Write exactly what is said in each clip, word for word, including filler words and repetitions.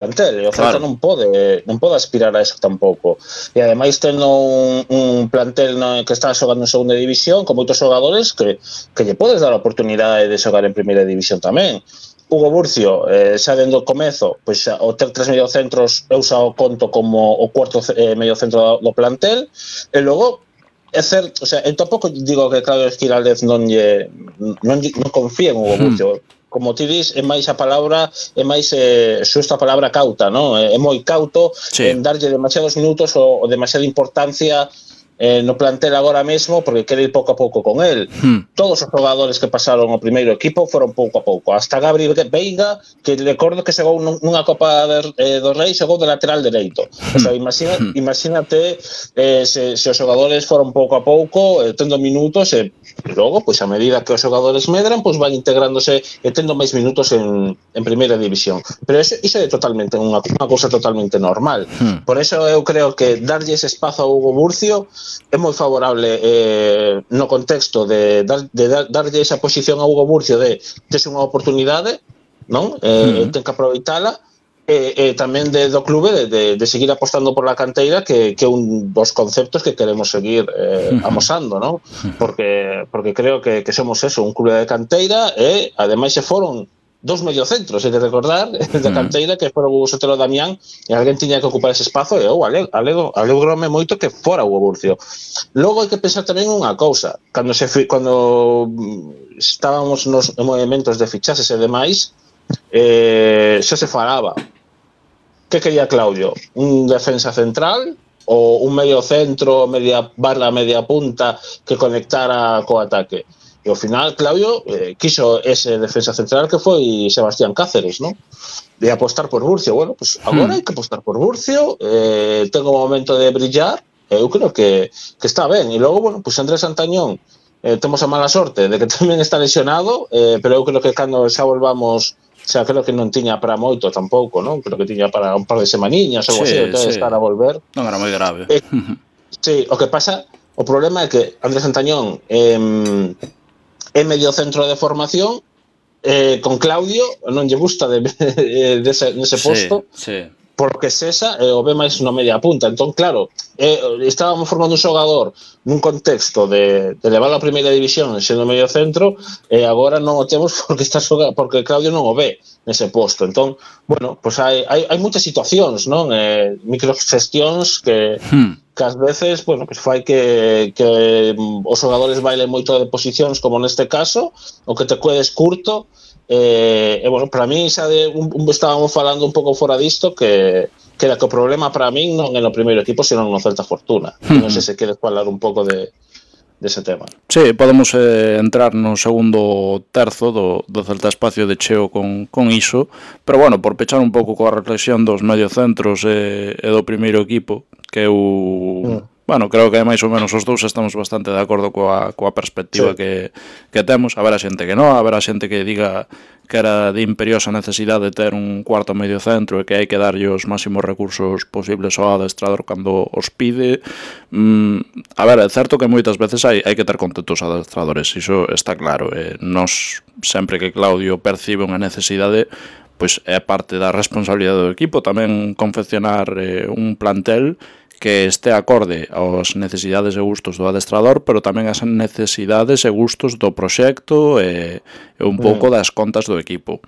plantel, e o Celta Claro. non pode non pode aspirar a eso tampouco, e ademais tendo un, un plantel no, que está xogando en segunda división con moitos xogadores que, que lle podes dar a oportunidade de xogar en primeira división tamén. Hugo Burcio, eh, xa dentro do comezo, pois xa, o ter tres mediocentros eu xa o conto como o cuarto eh, mediocentro do, do plantel, e logo é certo, o sea, eu tampouco digo que Claudio Esquiraldez non lle non, non confía en Hugo Burcio, hmm. como ti dis, é máis a palabra, é máis eh, xusto a palabra cauta, non? É, é moi cauto sí. en darlle demasiados minutos ou, ou demasiada importancia eh, no plantel agora mesmo, porque quere ir pouco a pouco con el. Hmm. Todos os xogadores que pasaron ao primeiro equipo foron pouco a pouco, hasta Gabriel Veiga, que recordo que xogou nunha Copa de, eh, do Rei, xogou de lateral dereito. Hmm. O sea, imagina, hmm. imagínate eh, se, se os xogadores foron pouco a pouco, eh, tendo minutos, e eh, logo, pois a medida que os xogadores medran, pois van integrándose e tendo máis minutos en, en primeira división. Pero iso, iso é totalmente unha, unha cousa totalmente normal. Hmm. Por eso eu creo que darlle ese espazo a Hugo Burcio é moi favorable eh, no contexto de, dar, de dar, darlle esa posición a Hugo Burcio de tes unha oportunidade, non? Eh, mm. ten que aproveitala, e, e tamén de, do clube de, de, de seguir apostando por la canteira, que, que é un dos conceptos que queremos seguir eh, amosando, non? Porque, porque creo que, que somos eso, un clube de canteira, e ademais se foron dos mediocentros, hai de recordar, da canteira, que foron Hugo Sotelo e Damián, e alguén tiña que ocupar ese espazo, e eu alegrome moito que fora Hugo Burcio. Logo hai que pensar tamén unha cousa, cando se cando estábamos nos movimentos de fichases e demais, eh, xa se falaba. Que quería Claudio? Un defensa central ou un medio centro, media barra, media punta que conectara co ataque? E ao final Claudio eh, quiso ese defensa central que foi Sebastián Cáceres, non? De apostar por Burcio. Bueno, pues agora hmm. hai que apostar por Burcio, eh, tengo un momento de brillar, e eu creo que, que está ben. E logo, bueno, pues Andrés Antañón, eh, temos a mala sorte de que tamén está lesionado, eh, pero eu creo que cando xa volvamos, xa creo que non tiña para moito tampouco, non? Creo que tiña para un par de semaniñas ou sí, así, entón sí. estar a volver. Non era moi grave. Eh, sí, o que pasa, o problema é que Andrés Antañón eh, é medio centro de formación, eh, con Claudio non lle gusta de, de, de ese, nese posto, sí, sí. porque César eh, o ve máis no media punta. Entón, claro, eh, estábamos formando un xogador nun contexto de, de levar a primeira división sendo medio centro, e eh, agora non o temos porque está xogando, porque Claudio non o ve nese posto. Entón, bueno, pues hai, hai, hai muitas situacións, non? Eh, microgestións que... Hmm. que ás veces, bueno, pues fai que, que os xogadores bailen moito de posicións, como neste caso, o que te quedes curto, e, eh, bueno, para mí xa de, un, un, estábamos falando un pouco fora disto, que, que era que o problema para min non é no primeiro equipo, senón no Celta Fortuna. Uh-huh. Non sei se queres falar un pouco de dese tema. Sí, podemos eh, entrar no segundo terzo do, do Celta Espacio de cheo con, con iso, pero bueno, por pechar un pouco coa reflexión dos mediocentros e, e do primeiro equipo, que eu, mm. bueno, creo que máis ou menos os dous estamos bastante de acordo coa, coa perspectiva sí. que, que temos. Haberá xente que non, haberá xente que diga que era de imperiosa necesidade ter un cuarto medio centro e que hai que darlle os máximos recursos posibles ao adestrador cando os pide. Mm, a ver, é certo que moitas veces hai, hai que ter contentos adestradores, iso está claro. Eh, nos, sempre que Claudio percibe unha necesidade, pois é parte da responsabilidade do equipo tamén confeccionar eh, un plantel que este acorde aos necesidades e gustos do adestrador, pero tamén as necesidades e gustos do proxecto e, e un pouco das contas do equipo.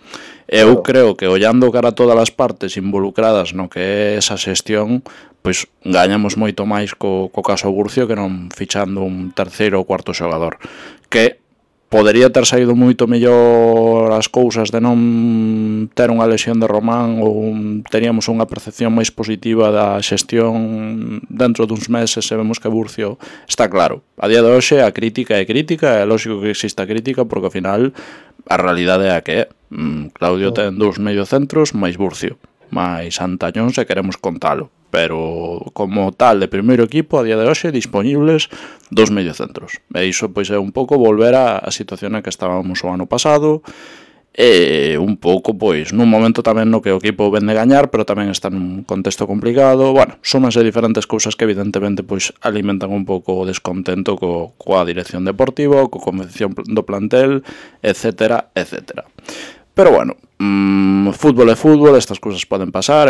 Eu creo que ollando cara a todas as partes involucradas no que é esa xestión, pois gañamos moito máis co, co caso Burcio que non fichando un terceiro ou cuarto xogador, que podería ter saído moito mellor as cousas de non ter unha lesión de Román, ou teríamos unha percepción máis positiva da xestión dentro duns meses e vemos que Burcio está claro. A día de hoxe a crítica é crítica, é lógico que exista crítica porque ao final a realidade é a que é. Claudio ten dous mediocentros máis Burcio, máis Antañón se queremos contalo, pero como tal de primeiro equipo a día de hoxe disponibles dos mediocentros, e iso pois é un pouco volver a, a situación na que estábamos o ano pasado, e un pouco pois nun momento tamén no que o equipo vende gañar, pero tamén está nun contexto complicado. Bueno, súmanse diferentes cousas que evidentemente pois alimentan un pouco o descontento co, coa dirección deportiva, co convención do plantel, etcétera, etcétera. Pero bueno, mmm, fútbol é fútbol, estas cousas poden pasar.